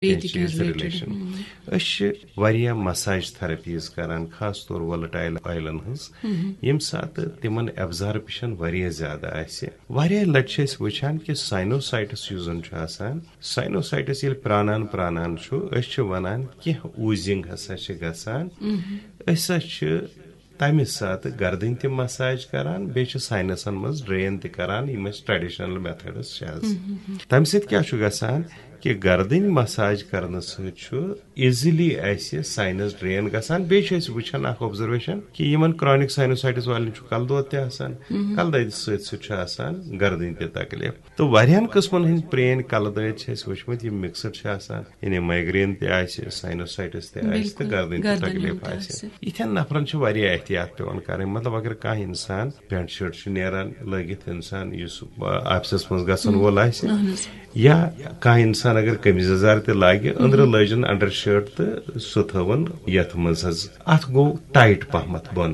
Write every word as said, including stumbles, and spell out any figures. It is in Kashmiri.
کینٛہہ چیٖز رِلیٹڈ۔ أسۍ چھِ واریاہ مساج تھراپیز کران، خاص طور وولٹایل آیلن ہٕنٛز، ییٚمہِ ساتہٕ تِمن ایبزارپشن واریاہ زیادٕ آسہِ۔ واریاہ لٹہِ چھِ أسۍ وٕچھان کہِ ساینوسائٹس یُس زن چھُ آسان، ساینوسائٹس ییٚلہِ پرانان پرانان چھُ، أسۍ چھِ ونان کینٛہہ اوٗزِنگ ہسا چھِ گژھان۔ أسۍ ہسا چھِ تمہِ ساتہٕ گردٕنۍ تہِ مساج کران، بیٚیہِ چھِ ساینسن منٛز ڈرین تہِ کران، یِم أسۍ ٹریڈیشنل میتھڈس چھِ حظ۔ تمہِ سۭتۍ کیٛاہ چھُ گژھان کہِ گردٕنۍ مساج کرنہٕ سۭتۍ چھُ ایزیلی اسہِ ساینس ڈرین گژھان۔ بیٚیہِ چھِ أسۍ وٕچھان اکھ آبزرویشن کہِ یِمن کرانک ساینوسائٹس والٮ۪ن چھُ کلہٕ دود تہِ آسان، کلہٕ دٲدِ سۭتۍ سۭتۍ چھُ آسان گردٕنۍ تہِ تکلیف۔ تہٕ واریاہن قٕسمن ہٕنٛدۍ پرٛٲنۍ کلہٕ دٲدۍ چھِ اَسہِ وٕچھمٕتۍ، یِم مکسڈ چھِ آسان، یعنی مایگرین تہِ آسہِ، ساینوسائٹس تہِ آسہِ، تہٕ بِلکُل، گردٕنۍ تہِ گردنہِ تکلیف تہِ آسہِ۔ آسہِ۔ یِتھٮ۪ن نفرن چھِ واریاہ احتیاط پٮ۪وان کرٕنۍ۔ مطلب، اگر کانٛہہ انسان پینٹ شٲٹ چھُ نیران لٲگِتھ، انسان یُس، آ، آفسس منٛز گژھن وول آسہِ، اہن حظ۔ یا کانٛہہ انسان اگر قمیٖض یزار تہِ لاگہِ، أنٛدرٕ لٲجِن انڈر شٲٹ تہٕ سُہ تھٲوٕن یتھ منٛز حظ۔ اتھ گوٚو ٹایٹ پہمتھ بۄنہٕ۔